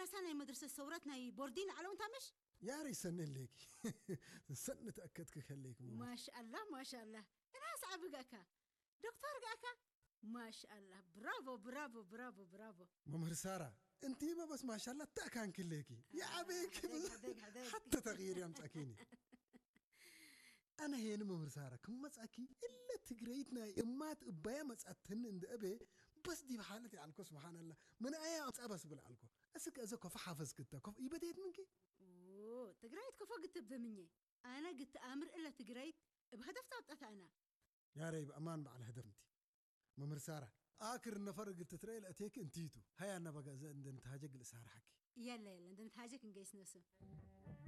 ራሳ ናይ መድረሰ ሰውረት ናይ ቦርዲን ዓለውን ታመሽ? ያሬ ሰነሌኪ ሰን ተአከትክ ከሌክ ሞ ማሻአላህ ማሻአላህ። እናስ ዓቢ ጋካ ዶክተር ጋካ ማሻአላህ። ብራቮ ብራቮ ብራቮ ብራቮ። መምህር ሳራ እንቲ በበስ ማሻላ ተአካንክሌኪ የአቤክ ሕደግ፣ ሕደግ፣ ሕደግ። ሐተ ተغيير ያምጻኪኒ ኣነ ሄን መምህር ሳራ ክመጻኪ እለ ትግረይት ናይ እማት እባያ መጻትኒ እንደ እቤ በስ ዲብ ሓለት ያልኮ ስብሓንላ ምን ኣያ ኣምጻ በስ ብል ኣልኮ እስከ እዘ ኮፈ ሓፈዝ ክተ ኮፍ ይበደየት ምንኪ ትግራይት ኮፎ ግትብ ብምኘ ኣነ ግትኣምር እለ ትግራይት እብ ሀደፍ ጣብጣት ኣና ያረይ ብእማን በዓል ህደፍ እንቲ መምህር ሳራ ኣክር ነፈር እግር ትትረኤ ለእቴክ እንቲቱ ሀያ ነበጋ እዘ እንደ ንትሃጀግ ልእሳርሐኪ የለ የለ እንደ ንትሃጀክ እንገይስ ነሱ